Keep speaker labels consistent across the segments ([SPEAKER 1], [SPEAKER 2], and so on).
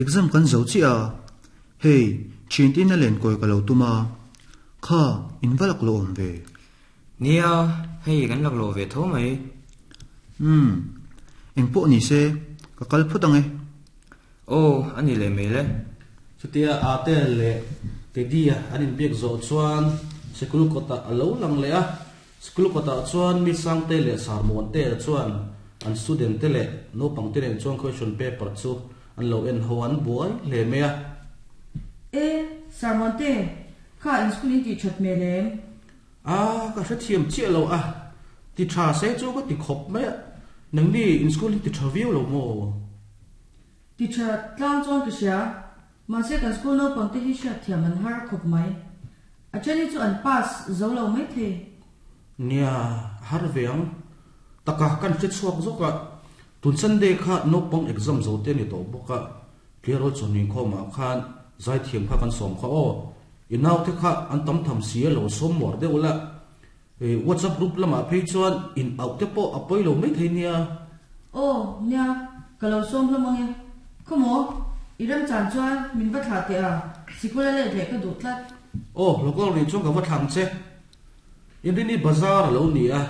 [SPEAKER 1] Exam kan zo chiah a, hei thiante in a len kawi ka lo tum a, kha in va lak lo awm ve.
[SPEAKER 2] Nia, hei kan lak lo ve tho mai.
[SPEAKER 1] Umm, eng pawh ni se, ka kal phawt ang e.
[SPEAKER 2] Aw, a ni leh mai le.
[SPEAKER 3] Chutia Ate leh Teddy-a an inbiak zawh chuan sikul kawtah a lo lang leh a, School kawtah chuan mi Sangte leh Sarmuante chuan an student te leh naupang te nen chuan question paper chu an lo en ho an buai hle mai a.
[SPEAKER 4] E, Sarmuante, kha in school in tih that hmel em?
[SPEAKER 3] A, ka hrethiam chiah lo a, ti tha se chu ka ti khawp mai a, nangni in school hi ti tha viau lo maw?
[SPEAKER 4] Ti tha tlang chuan ka hria, Mahse kan school naupang te hi hriat thiam an har khawp mai. A then hi chu an pass zo lo mai thei.
[SPEAKER 3] Nia, a har ve ang. Taka kan hre chhuak zawk a, tun Sunday kha naupang exam zo te a ni tawh bawk a, Tleirawl chawhni khawmah khan zaithiam kha kan sawm kha aw. I naute kha an tam tham si a lo sawm muar deuh la. WhatsApp group lamah phei chuan in auh te pawh a pawi lo mai thei nia.
[SPEAKER 4] Aw, nia, ka lo sawm hlawm ang e. Khawmaw, i remchan chuan min va thlah teh a, sikul a let leh ka duh tlat.
[SPEAKER 3] Aw, local rih chuan ka va thlang che. Inrini bazar a lo ni a,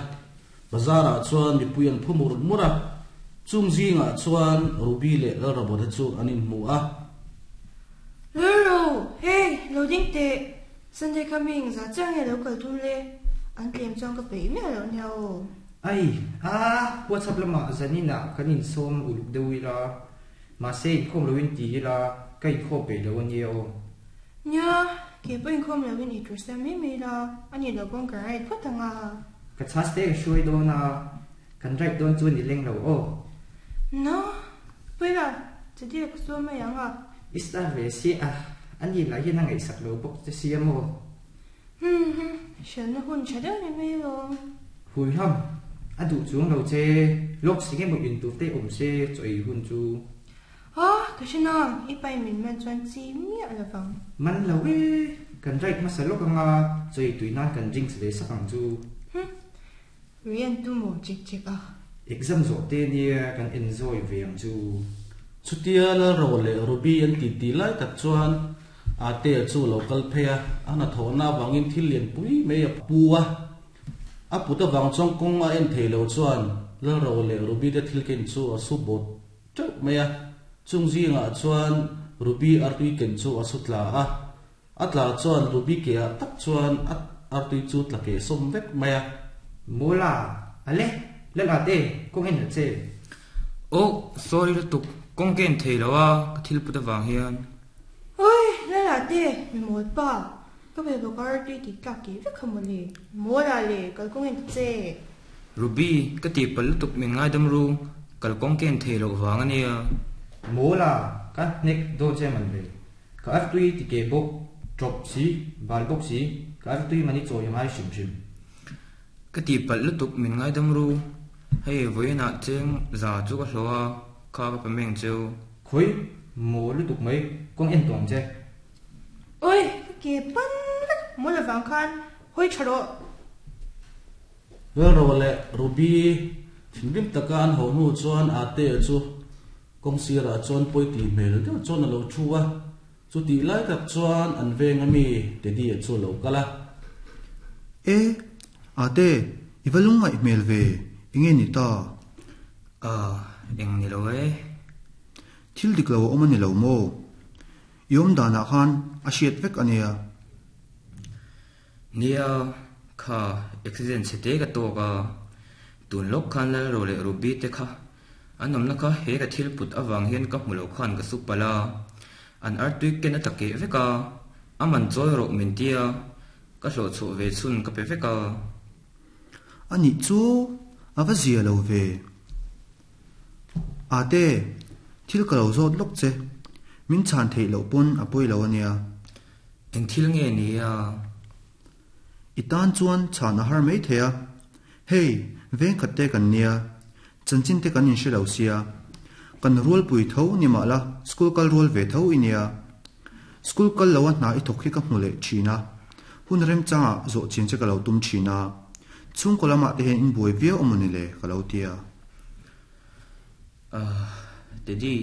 [SPEAKER 3] bazar ah chuan mipui an phu mur mur a, chung zingah chuan Ruby leh Lalrabawta chu an inhmu a.
[SPEAKER 5] Lalro, hei, lo ding teh. Sunday kha mi engzah chiah nge lo kal tum le? An tlem chuan ka peih miah loh nia aw.
[SPEAKER 6] Ai, a, WhatsApp lamah zaninah kan insawm uluk deuh ila, mahse inkhawm loin ti ila ka inkhawm peih lo a nia aw.
[SPEAKER 5] Nia, kei pawh inkhawm loin ei tur siam mai mai ila, a nih loh pawn kan ride phawt ang a.
[SPEAKER 6] Ka chhas te ka hruai dawn a, kan ride dawn chu ni leng lo aw.
[SPEAKER 5] Na, Puila, chutiang ka sawi mai ang a.
[SPEAKER 6] I star ve si a, a ni lah hian a ngaihsak lo bawk che sia maw?
[SPEAKER 5] Hum hum, hriatna hun tha deuh ni mai alawm.
[SPEAKER 6] Hui ham, a duh chuang lo che, lawk si nge maw in tur te awm se chaw ei hun chu.
[SPEAKER 5] Ah, ka hre nang, i pai min man chuan chi miah lo vang.
[SPEAKER 6] Man lo e, kan ride hmasa lawk anga chaw ei tui nan kan drinks ve sak ang chu.
[SPEAKER 5] Hum, Rian tu maw chek chek a?
[SPEAKER 6] Exam zawh te nia kan enjoy ve ang chu.
[SPEAKER 3] Chutia Lalro leh Ruby an ti ti lai tak chuan Atea chu a lo kal phei a, a hnathawhna avangin thil lian pui mai a pu a. A put avang chuan kawng a en thei lo chuan Lalro leh Ruby te thil ken chu a su bawt teuh mai a. Chung zingah chuan Ruby artui ken chu a su tla a. A tla chuan Ruby ke ah tak chuan a artui chu tla keh sawm vek mai a.
[SPEAKER 6] Mawla, Ale, lal at e, kawng en ha che.
[SPEAKER 2] Aw, sorry lutuk, kawng ka en thei lo a, ka thil put avang hian.
[SPEAKER 5] Oi, lal at e, mi mawl pa, ka ve bawk a artui tih tlak keh vek kha mawle. Mawla le, kal kawng en ta che.
[SPEAKER 2] Ruby, ka tihpalh lutuk min ngaidam ru, kal kawng ka en thei loh vang a nia.
[SPEAKER 6] Mawla, ka hnek dawn che man ve. Ka artui ti ke bawk, ṭawp si, bal bawk si, ka artui mani chawi a ngai hrim hrim.
[SPEAKER 2] Ka tihpalh lutuk min ngaidam ru, hei vawiinah cheng za chu ka hlawh a, kha ka pe meng cheu.
[SPEAKER 6] Khawi, maw lutuk mai, kawng en tawh ang che.
[SPEAKER 5] Oi, ka ke pan vek, maw lovang khan hawi ṭha rawh.
[SPEAKER 3] Lalro leh Ruby thinrim taka an haw hnu chuan Atea chu Kawng sirah chuan pawi tih hmel deuh chuan a lo thu a, chutih lai tak chuan an veng a mi Teddy-a chu a lo kal a.
[SPEAKER 1] E, Ate, i va lungngaih hmel ve, enge ni ta?
[SPEAKER 2] Ah, eng ni lo e.
[SPEAKER 1] Thil dik lo a awm a ni lo maw? I awm danah khan a hriat vek a nia.
[SPEAKER 2] Nia, kha accident chhe te ka tawk a, tun lawk khan Lalro leh Ruby te kha An awmna kha he ka thil put avang hian ka hmu lo khan ka su palh a, an artui ken a tla keh vek a, a man chawi rawh min ti a, ka hlawh chhuah ve chhun ka pe vek a.
[SPEAKER 1] A nih chu a va zia lo ve. Ate, thil ka lo zawt lawk che, min chhan theih loh pawn a pawi lo a nia.
[SPEAKER 2] Eng thil nge ni a?
[SPEAKER 1] I tan chuan chhan a har mai thei a, hei veng khat te kan nia, chanchin te kan inhre lo sia, kan rualpui tho ni mah la school kal rual ve tho i nia. School kal lo a hna i thawk hi ka hmu leh thin a, hun remchangah zawh chin che ka lo tum thin a, chhungkaw lamah te hian in buai viau a mawni le ka lo tia.
[SPEAKER 2] Ahh Teddy,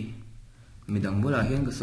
[SPEAKER 2] midang bulah hian ka sawi.